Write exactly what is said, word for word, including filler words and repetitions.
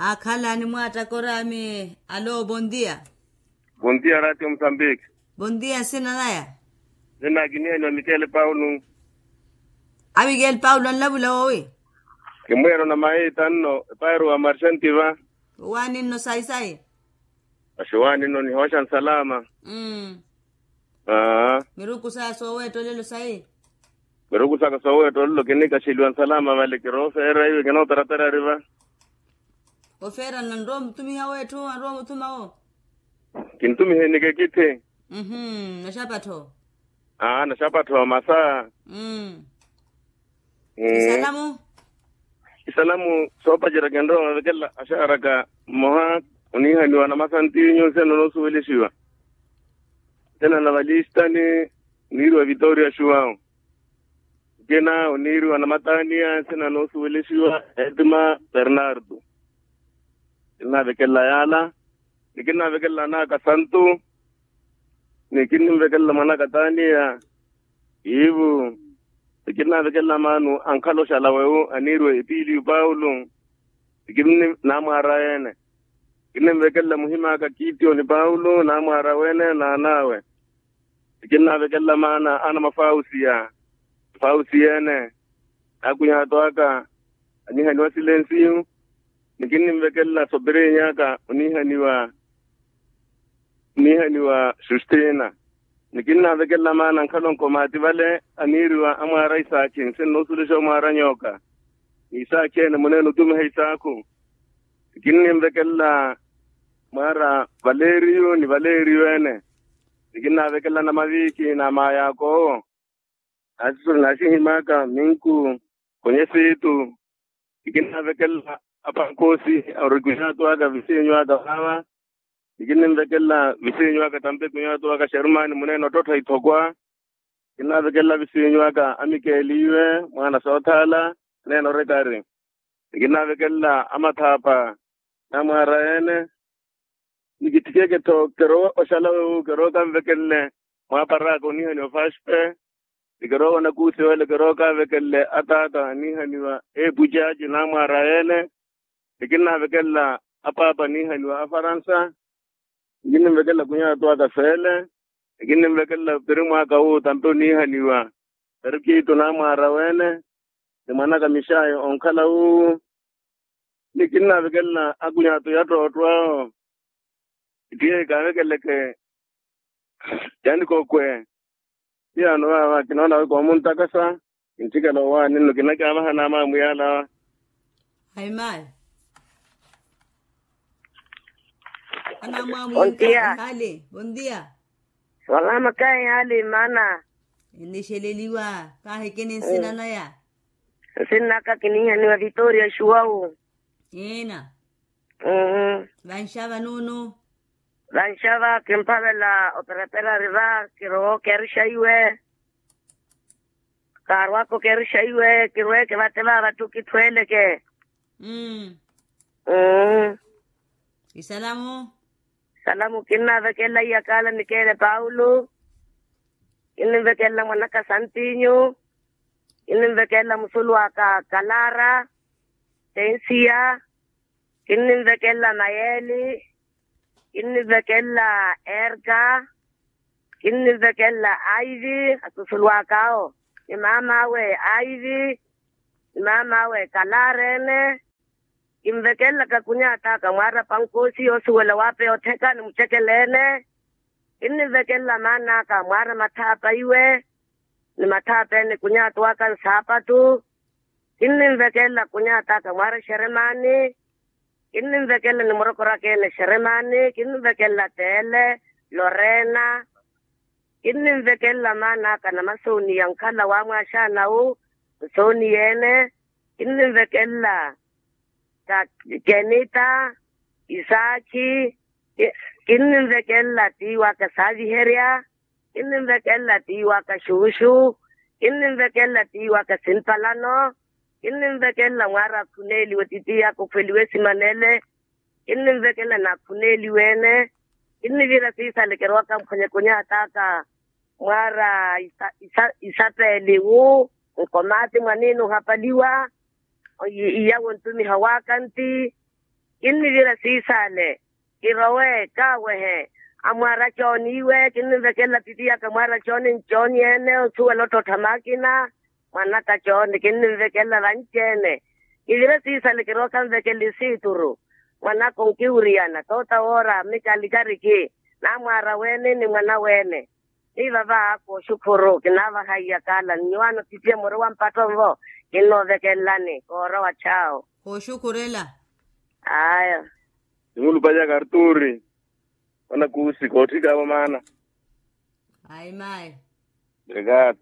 Akhala animwaattaka oraami. Alo, bondia. Bondia ratio musambiki. Bondia nsina naya. Nsina kinihaniwa mikele paulo. A mikele paulo anlavula wowi. Kimweero na mayi tanno epairu wa marxanti va. Owaani nno sayi sayi. Paxi owaani nno nihooxa nsalama. Miruku saya sooweetta olelo sayi. Miruku saka sooweetta olelo kinikaxeliwa nsalama vale kiroofeera iwe kinooperapera riva. Ofeera nanrowa omutumiha wetthu anrowa omutumawo. Kintumiha enikekitthi. Naxapattho. Aa naxapattho masa. Isalamu. Isalamu soopacerya kinrowa ovekela axaaraka mmoha onihaniwa namasantinyu nsina noosuwelexiwa. Nsina na valistani oniiriwa vitoria xuwawu. Nkina oniiriwa namataniya nsina noosuwelexiwa etima bernardo. Kinnavekelela yaala. Ni kinnavekelela anaka santu. Ni kinnivekelela mwanaka taniya. Iivu ni kinnavekelela maanu ankhala oxala wewu aniiriwa epiliyu paulo. Ni kinni namwaara ene. Kinnivekelela muhimaka kitiyo ni paulo namwaara wene naanawe. Ni kinnavekelela maana ana mafausiya. Fausiya ene. Akunyaato aka anihaniwa silensiyu. Ni kinnivekelela sopirinyi aka onihaniwa onihaniwa xustina. Ni kinnavekelela maana ankhala onkomaati vale aniiriwa amwaara isaakhi nsina noosulexa omwaara nyooka. Ni isaakhi ene muneene otumiha isaakhu. Ni kinnivekelela mwaara valeriyu ni valeriyu ene. Ni kinnavekelela namaviikhi na maayaakowo. Naxihimaka minku khonyesitu. Ni kinnavekelela apankosi auri kunyaatu aka visinyu aka vaava. Ni kinnivekelela visinyu aka tampe kunyaatu aka xerumani muneene ottottha ithokwa. Kinnavekelela visinyu aka amikeeliwe mwaana soothaala. Neene orekari. Ni kinnavekelela amathaapa namwaara ene. Ni kitthikeke-tho kirowa oxala wewu kirowa kanvekelele mwaaparaaka onihaniwa fashpe. Ni kirowa onakuusiwele kirowa kanvekelele ataata anihaniwa epucaaci namwaara ene. Ni kinnavekelela apaapa anihaniwa afaransa. Ni kinnivekelela kunyaatu aka feele. Ni kinnivekelela pirimwaaka wu tampe onihaniwa perkitu namwaara wene. Ni mwanaka mixayi onkhala wu. Ni kinnavekelela akunyaato ya ttootto awo. Itiye kaavekeleke yanikokwe. Tiyaano vaava kinoona wi koomuntakasa. Kintthikela owaani nno kinakiavaha naamaamu yaala. Ayi mayi. Anaamwaamu yinkaha ehali bondia. Wala makayi hali maana. Enixeleliwa. Kahekeni nsina naya. Nsinnaka kinihaniwa vitoria xuwawu. Ina. Vanxava nuunu. Vanxava kimphavela operapera riva kirowa okeruxa iwe. Kaarwaka okeruxa iwe kirweke vate vaava ttu kitthuweleke. Isalamu. Isalamu kinnavekelela iyakaala mikeele paulo. Kinnivekelela mwanaka santinyu. Kinnivekelela musulu aka kalara. Tensiya. Kinnivekelela mayeli. Kinnivekelela erka. Kinnivekelela aivi asusulu akaawo. Ni maam'awe aivi. Ni maam'awe kalara ene. Kinvekelelaka kunyat'aka mwaara pankoosi yoosuwela waapeya ottheka ni mucekeleene. Kinnivekelela maan'aka mwaara mathaapa iwe. Ni mathaapa ene kunyat'aka nsaapattu. Kinnivekelela kunyat'aka mwaara xeremaani. Kinnivekelela ni murokoraka ene xeremaani kinnivekelela teele. Loreena. Kinnivekelela maan'aka namasooniya nkhala waamwaaxaana wu. Nsooniyeene. Kinnivekelela kenita. Isaakhi. Kinnivekelela tiiwaka saaviherya. Kinnivekelela tiiwaka xuxu. Kinnivekelela tiiwaka simpalano. Kinnivekelela mwaara akhuneeliwe titiiyaka okhweliwe esimanele. Kinnivekelela naakhuneeliwe ene. Kinnivira siisale kirowaka mphonye kunyat'aka mwaara isapeeli wu nkomaati mwan'inu ohapaliwa. Iyawo ntumiha w'akanti. Kinnivira siisale kirowe kaawehe amwaara cooni iwe kinnivekelela pipi yaka mwaara cooni ncooni ene osuwela ottottha maakina. Mwanaka cooni kinnivekelela vanci-ene. Kivire siisale kirowe kanvekelele isiituru. Mwanaka onkiwuriyana toota woora mika alikariki namwaara weene ni mwana weene. Ni vava kooxukhuru kinaavaha iyakaala nyuwaano pipiye muri wa mpatto nvo. Kinnoovekelelani koorowa chawo. Kooxukhurela. Aya. Nimulupanya karturi. Mwana kuusi kootthikavo maana. Ayi mayi. Brigade.